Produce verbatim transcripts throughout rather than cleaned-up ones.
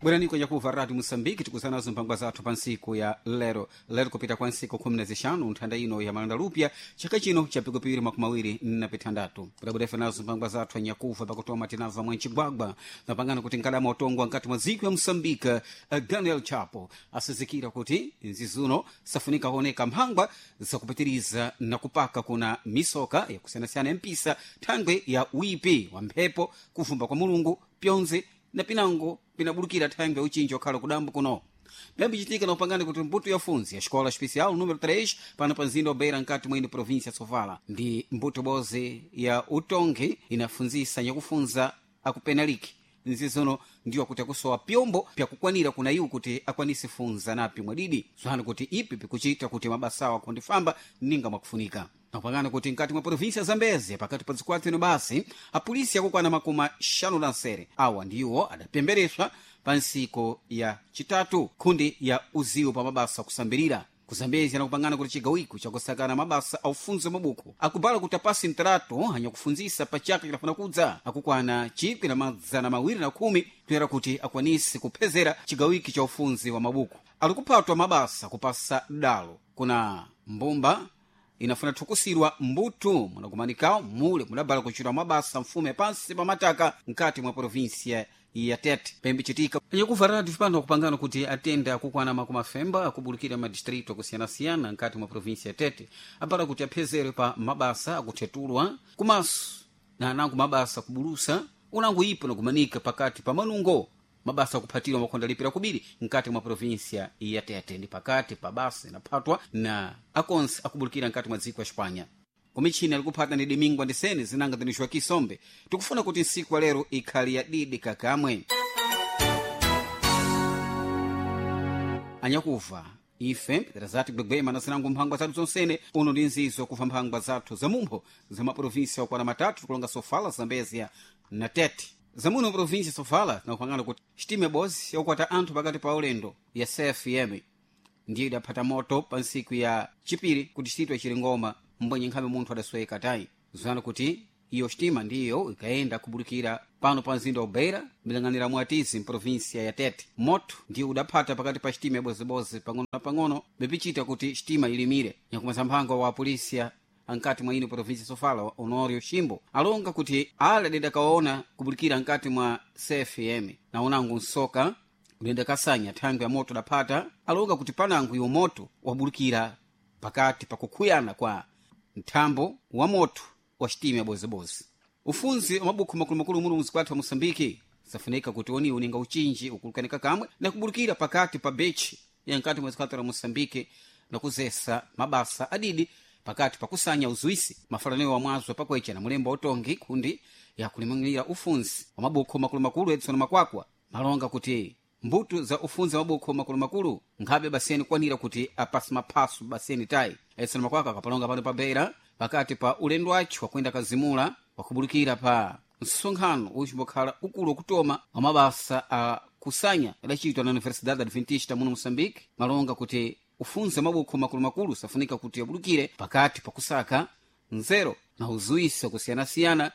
Bwerani kwenye kuva Radio Moçambique, tikuzanazo mphangwa zathu pa ntsiku ya lero. Lero kupita kwa ntsiku khumi na zixanu nthanda ino ya malanda lupya chaka chino cha pikupiri makumi awiri na pithandatu. Kudabwera nazo mphangwa zathu anyakuva pakutoma tinamva mwa ncigwagwa napangana kuti nkadama utongwa nkati mwa dziko ya Moçambique, eh, Daniel Chapo asizikira kuti nzizuno safunika kuoneka mphangwa zakupitiriza na kupaka kuna misoka yakusiyanasiyana ya mpisa thangwe ya wipi wa mphepo, kuvumba kwa Mulungu, pyonse na pinango pinabulukira thangwe uchinji wakhala kudambo kuno. Pyambichitika na upangani kuti mbuto ya funzi ya xikola especial número três pano pa mzinda wa Beira nkati mwene província ya Sofala ndi mbuto boze ya utongi inafunzisa nyakufunza akupenaliki nzizono ndiwo kuti akusowa pyombo pyakukwanira kuna iwo kuti akwanise funza napi mwadidi zwanu kuti ipi pikuchita kuti mabasawo akundifamba ninga mwakufunika. Napangana kuti nkati mwa província ya Zambezia pakati pa zikwatu ino basi apolisi akukwana makumi axanu na nsere awa ndiwo adapembereswa pa ntsiko ya chitatu khundi ya uziwo pa mabasa akusambirira. Kuzambezia nakupangana kuti chigawiko chakusakana mabasa aufunzo mabuku akubala kuti apasi mtarato anyakufunzisa pa chaka chidafuna kudza akukwana chikwi na madzana mawiri na khumi kuyera kuti akwanise kuphezera chigawiki cha ufunzi wa mabuku. Alikuphatwa mabasa kupasa dalo kuna mbumba inafuna thukusirwa mbuto munakumanikawo mule mudabala kuchita mabasa mfume pansi pa mataka nkati mwa província ya Tete. Pembichitika anyakuva radio pano kupangana kuti atenda akukwana makumi afemba akubulukira madistrito akusiyana-siyana nkati mwa província ya Tete apara kuti aphezere pa mabasa akuthetulwa kumaso na anango mabasa akubulusa unango ipo nakumanika pakati pa manungo mabasa akuphatirwa makhonda lipira kubiri nkati mwa província ya Tete ndi pakati pa basa inaphatwa na akonse akubulukira nkati mwa dziko ya Espanha. Kumichini alikuphata ni Domingo andisene zinanga zinixwa kisombe tikufuna kuti ntsiku ya lero ikhali ya didi kakamwe. Anyakuva ife tirazati kugwegwema na zinango mphangwa zathu zonsene uno ndi nzizo kuva mphangwa zathu zamumpho za maprovinsia okwana matatu tikulonga Sofala, Zambezia na Tete. Zamuno província Sofala tinakupangana kuti xitime bozi yakukwata anthu pakati pa ulendo ya C F M ndiyo idaphata moto pa ntsiku ya chipiri kuti xititwa chilingoma mbwenye nkhabe munthu adasweka tayi zwana kuti iyo xitima ndiyo ikayenda kubulukira pano pa mzinda wa Beira milang'anira mwatizi mprovinsia ya Tete. Moto ndiyo udaphata pakati pa xitima ya bozibozi pang'ono na pang'ono bepichita kuti xitima ilimire. Nyakumasa mphango wa apolisia ankati mwa ino província Sofala Honorio Ximbo alonga kuti ale adidakaona kubulukira nkati mwa C F M na unango nsoka udenda kasanya thangwe ya moto daphata alonga kuti panango iwo moto wabulukira pakati pakukhuyana kwa nthambo wa moto wa xitima ya bozibozi. Ufunzi wa mabukhu makulumakulu muno mzikwathu wa Moçambique safunika kuti oniwo ninga uchinji ukulukanika kamwe na kubulukira pakati pa bechi ya nkati mwa zikwathu la Moçambique na kuzesa mabasa adidi pakati pakusanya uzuisi mafalaneo wa mwazo pakwecha na mulembo wa utongi kundi ya kulimang'ira ufunzi wa mabukho makulumakulu Edson Makwakwa malonga kuti mbuto za ufunzi wa mabukho makulumakulu nkhabe baseni kwanira kuti apasi maphaso baseni tayi. Edson Makwakwa akapalonga pano pa Beira pakati pa ulendo wacho wakwenda kazimula wakubulukira pa msonkhano uchimbokhala ukulu wakutoma wa mabasa a kusanya adachitwa na Universidade Adventista muno Moçambique malonga kuti ufunzi wa mabukho makulumakulu safunika kuti abulukire pakati pakusaka nzero na uzuisi wakusiyanasiyana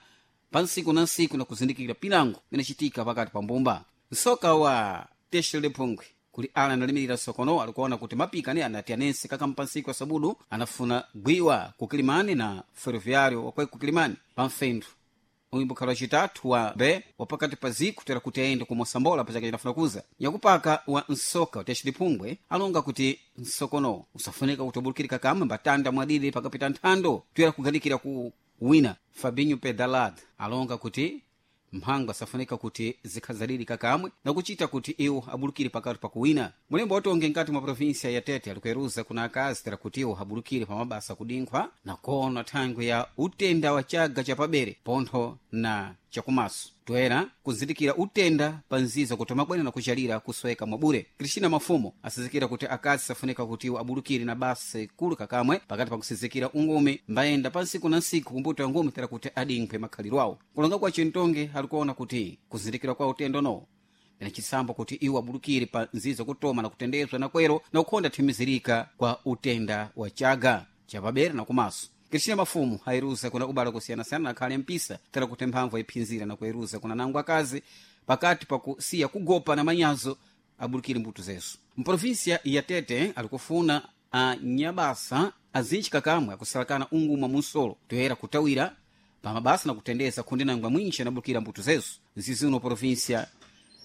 pa ntsiku na ntsiku na kuzindikira pinango inachitika pakati pa mbumba. Msoka wa Teixeira de Phungwe kuli ala analimirira sokono alikuona kuti mapika ne anati anense kakampa ntsiku ya sabudu anafuna gwiwa kukilimani na ferroviário wakwe kukilimani pa mfendu uimbukhala wacitatu wa be wapakati pa ziku tera kuti ayende ku Mosambola pachaka chinafuna kuza. Nyakupaka wa nsoka wa Phungwe alonga kuti nsokono usafunika kuti ubulukirika kamwe mbatanda mwadidi pakapita nthando tuyera kuganikira ku wina. Fabinho Pedalad alonga kuti mphangwa safunika kuti zikhazaliri kakamwe na kuchita kuti iwo abulukire pakati pa kuwina. Mulembo watonge nkati mwa província ya Tete alikueruza kuna akazi tera kuti iwo abulukire pa mabasa kudinkhwa na kuona thangwe ya utenda wa chaga cha pabere pontho na chakumaso toera kuzindikira utenda pa nziza kuti mabwene na kuchalira kusweka mwabure. Cristina Mafumo asizikira kuti akazi safunika kuti iwo abulukire na basa ikulu kakamwe pakati pa kusizikira ungumi mbayenda pa ntsiku na ntsiku kumbuto ya ngumi tera kuti adinkhwe makhaliro awo. Kulonga kwa chintonge alikuona kuti kuzindikira kwa utendo no na chisambo kuti iwo abulukire pa nziza kutoma na kutendezwa na kwero na kukhonda thimizirika kwa utenda wa chaga chapabere na kumaso. Cristina Mafumu ayiruza kuna ubala kusiyanasiyana na khale mpisa tera kuti mphamvu ayiphinzira na kuyeruza kuna nango akazi pakati pakusiya kugopa na manyazo abulikire mbuto zesu. Mprovinsia ya Tete alikufuna anyabasa azinji kakamwe akusalakana ungumwa munsolo toyera kutawira pamabasa na kutendeza kundi nangwa mwinji anabulukira mbuto zesu. Nzizuno provinsia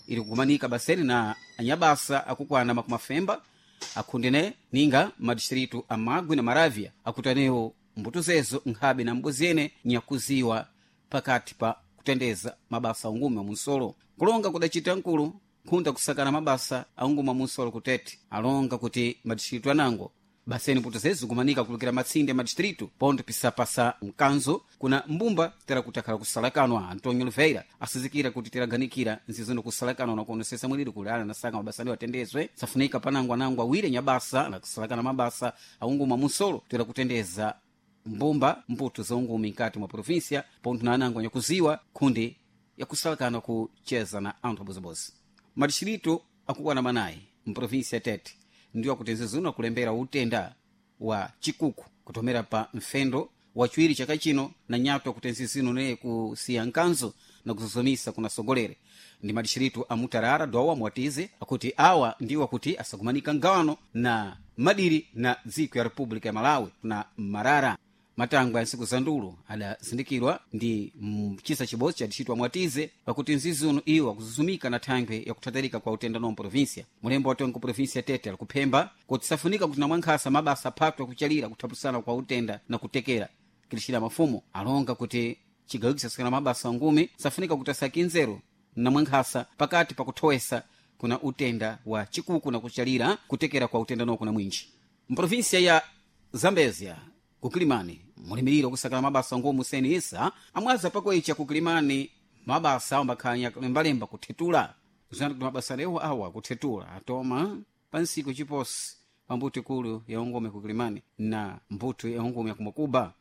ili kukumanika baseni na anyabasa akukwana makumi afemba akhundene ninga madistritu a Magwe na Maravya akutanewo mbuto zezo nkhabe na mbozene nyakuziwa pakati pa kutendeza mabasa aungumi wa munsolo. Kulonga kudacita nkulu nkhunda kusakana mabasa aungumi wa munsolo kutete alonga kuti madistritu anango baseni mbuto zezo kumanika kulukira matsinde madistritu pontho pisapasa mkanzo kuna mbumba tera kuti akhala kusalakanwa. Antonio Oliveira asizikira kuti teraganikira nzizono kusalakanwa na kuonesesa mwiliri kuli ala nasaka mabasa ndiwo atendezwe safunika panango anango awiri nyabasa na kusalakana mabasa aunguma munsolo tera kutendeza mbumba mbuto za ungumi nkati mwa provinsia pontho na anango anyakuziwa khundi yakusalakana kucheza na anthu abozibozi. Madistritu akukwana manayi mprovinsia ya Tete ndiwo akutenze zino akulembera utenda wa chikuku kutomera pa mfendo wachiwiri chaka chino na nyato akutenze zino neye kusiya nkanzo na kuzozomisa kuna sogolere ndi madishiritu a Mutarara, Dowa, Mwatize akuti awa ndiwo akuti asakumanika ngawano na madiri na dziko ya República ya Malawi na Marara. Matangwe ya ntsiku za ndulu adazindikirwa ndi mchisa chibodzi cha distritu Mwatize pakuti nzizi uno iwo akuzuzumika na thangwe yakuthatarika kwa utenda no mprovinsia. Mulembo watongo provinsia ya Tete alikuphemba kuti safunika kuti namwankhasa mabasa aphatu akuchalira kuthapusana kwa utenda na kutekera kilixira mafumo alonga kuti chigawikisa sikana mabasa angumi safunika kuti asaki nzeru namwankhasa pakati pakuthowesa kuna utenda wa chikuku na kuchalira kutekera kwa utenda no kuna mwinji. Mprovinsia ya Zambezia kukilimani mulimiriro kusakala mabasa ngomu seni isa amwaza pakoicha kukilimani mabasa awo makhanya lembalemba kuthetula zani kuti mabasa lewo awa kuthetula atoma pa nsiku chiposi pa mbuto ikulu ya ungome kukilimani na mbuto ya ungome ya kumakuba.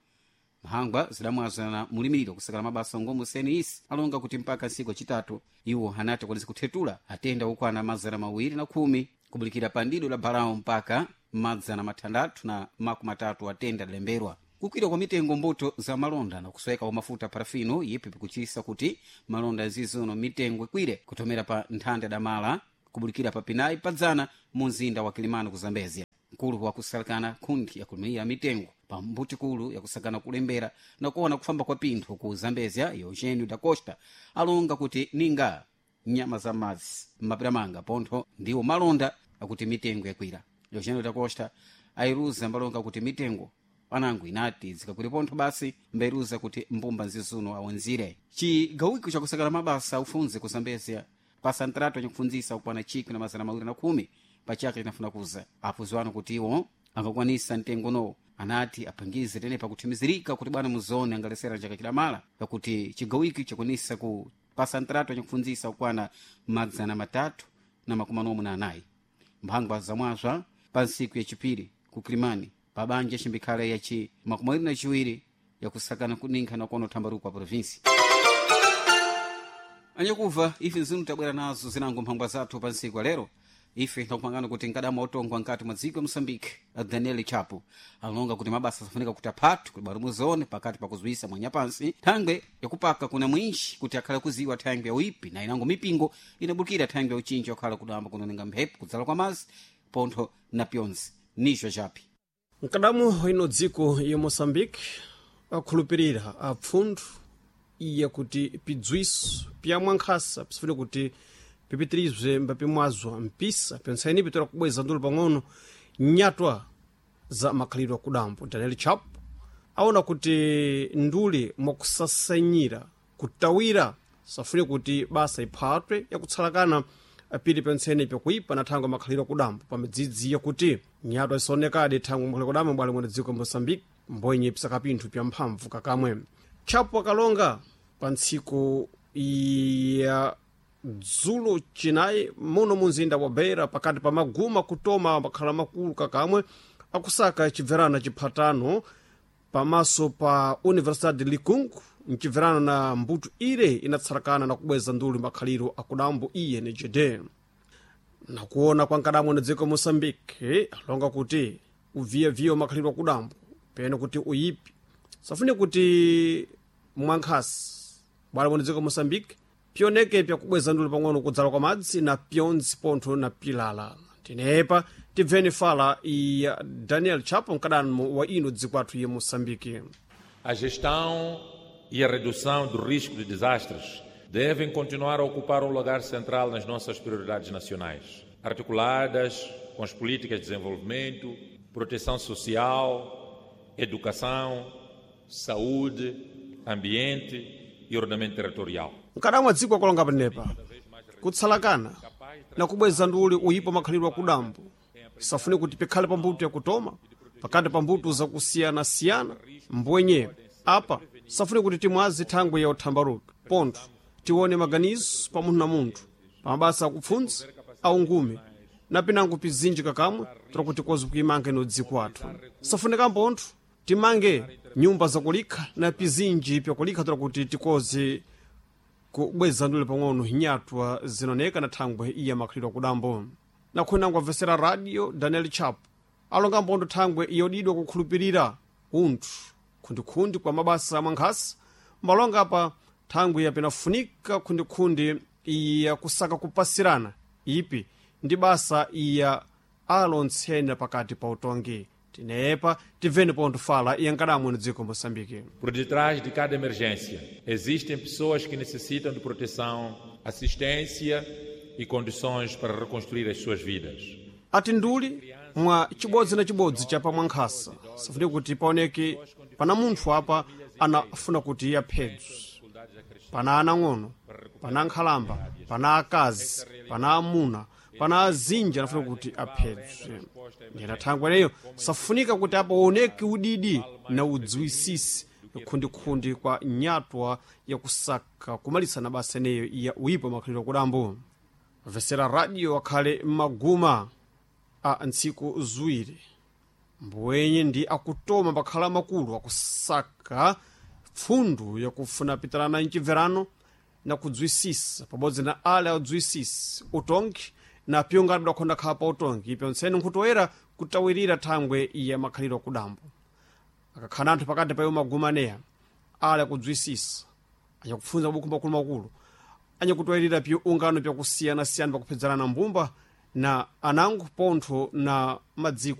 Mphangwa zidamwaza na mulimiriro kusakala mabasa ngomu seni isi alonga kuti mpaka nsiku acitatu iwo anati akwanisa kuthetula atenda okwana mazana mawiri na khumi kubulikira pa ndido la balawo mpaka madzana mathandathu na makumi atatu atenda adalemberwa. Kukwira kwa mitengo mbuto za malonda na kusweka kwa mafuta parafino yipi pikuchisa kuti malonda zizono mitengo ikwire kutomera pa nthanda damala kubulikira pa pinayi padzana mu mzinda wa Kilimani ku Zambezia. Mkulu wakusalakana khundi yakulimira mitengo pa mbuti kulu yakusakana kulembera na kuona kufamba kwa pinthu ku Zambezia Eugenio da Costa alonga kuti ninga nyama za madzi mmapiramanga pontho ndiwo malonda akuti mitengo yakwira. Eugenio da Costa ayiruza mbalonga kuti mitengo panango inati zikakwire pontho basi mbairuza kuti mbumba nzizuno awonzire. Chigawiko chakusakala mabasa ufunze ku Zambezia pasa ntratu anyakufunzisa kukwana chikwi na mazana mawiri na khumi pa chaka chinafuna kuza apuziwano kuti iwo angakwanisa mtengo no anati apangize tene pakuthimizirika kuti bwana muzone angalesera chaka chidamala pakuti chigawiko chakwanisa ku pasa ntratu anyakufunzisa kukwana madzana matatu na makumi anomwe na anayi. Mphangwa zamwazwa pa ntsiku yachipiri ku Kilimani pa banja chimbikhale yachi makumi awiri na chiwiri yakusakana kuninkha na kuona uthambaruko wa provinsi. Anyakuva ife nzinu tabwera nazo zinango mphangwa zathu pa ntsiku ya lero. Ife tinakupangana kuti nkadama otongwa nkati mwa dziko ya Moçambique Daniel Chapo alonga kuti mabasa asafunika kuti aphathu kuti bwalo muzone pakati pakuzuwisa mwanyapansi thangwe yakupaka kuna mwinji kuti akhale kuziwa thangwe ya uipi na inango mipingo inabukira thangwe ya uchinji wakhala kudamba kunonenga mphepo kudzala kwa mazi pontho na pyonzi nicho chapi. Mkadamu ino dziko ya Moçambique akhulupirira apfunthu iye kuti pidzwiso piyamwankhasa pisifune kuti pipitirizwe mbapimwazwa mpisa pensaini pitora kubweza ndulu pang'ono nyatwa za makhalidwe akudambo. Daniel Chap aona kuti nduli mwakusasanyira kutawira safune kuti basa iphatwe yakutsalakana pili pentsene pyakuipa na thangwe makhalidwe akudambo pamidzidzi yakuti nyatwa isaonekadi thangwe makhalidwe akudambo bwali mwene dziko Moçambique mbonye pisakapinthu pya mphamvu kakamwe. Chapo akalonga pa ntsiku ya dzulo chinayi muno munzinda wa Beira pakati pa maguma kutoma makhala makulu kakamwe akusaka chibverano chiphatano pamaso pa Universidade de Likungu mchibverano na mbuto ire inatsarakana na kubweza nduli makhaliro akudambo I N G D. Nakuona kwa nkadamwe na dziko Moçambique alonga kuti uviyeviye makhaliro akudambo pene kuti uyipi safune kuti mwankhasi bwala mwene dziko Moçambique Pioneke pyakubweza ndule pang'ono kudzala kwa madzi na pyondzi pontho na pilala. Tinepa tibveni fala ya Daniel Chapo, mkadano wa ino dziko athu ya Moçambique. A gestão e a redução do risco de desastres devem continuar a ocupar um lugar central nas nossas prioridades nacionais, articuladas com as políticas de desenvolvimento, proteção social, educação, saúde, ambiente e ordenamento territorial. Mkadamwa dziko akulonga panepa kutsalakana na kubweza nduli uyipo makhalidwe akudambo safune kuti pikhale pambuto yakutoma pakati pa mbuto zakusiyanasiyana. Mbwenye apa safune kuti timwazi thangwe ya uthambaruka pontho tione maganizo pa munthu na munthu pa mabasa akupfundza aungume na pinango pizinji kakamwe tira kozi kuimanga ino dziko athu. Safunika mpontho timange nyumba zakulikha na pizinji pyakulikha tira kuti tikozi kubweza ndule pang'ono hinyatwa zinoneka na thangwe iya makhalidwe akudambo. Nakhonango amvesera radio, Daniel Chapo alonga mpondo thangwe iyodidwa kukhulupirira unthu khundikhundi kwa mabasa amwankhasa malonga apa thangwe yapinafunika khundikhundi iya kusaka kupasirana ipi ndi basa iya alontsena pakati pa utongi. Tinepa tibveni pontho fala iyankadamwe no dziko Moçambique. Por detrás de cada emergência, existem pessoas que necessitam de proteção, assistência e condições para reconstruir as suas vidas. Ati nduli mwa chibodzi na chibodzi cha pamwankhasa safune kuti paoneke pana munthu apa anafuna kuti aphedwe, pana anang'ono, pana ankhalamba, pana akazi, pana amuna, pana azinji anafuna kuti aphedwe. Ndiyena thangwe ineyo safunika kuti apa uoneke udidi na udziwisisi khundikhundi kwa nyatwa yakusaka kumalisana basa ineyo ya uyipo makhalidwe akudambo. Vesera radio akhale m'maguma a ntsiku ziwiri mbwenye ndi akutoma pakhala makulu akusaka pfundu yakufuna pitirana mchibverano na kudzwisisa pabodzi na ale adziwisisi utongi na pyongati bdakhonda khala pa utongi ipyontseni nkhutoera kutawirira thangwe ya makhalidwe akudambo. Akakhala anthu pakati pa iwo magumaneya ale akudzwisisa anyakupfunza mabuku makulumakulu anyakutwayirira pyo ungano pyakusiyanasiyana pakuphedzerana mbumba na anango pontho na madziko.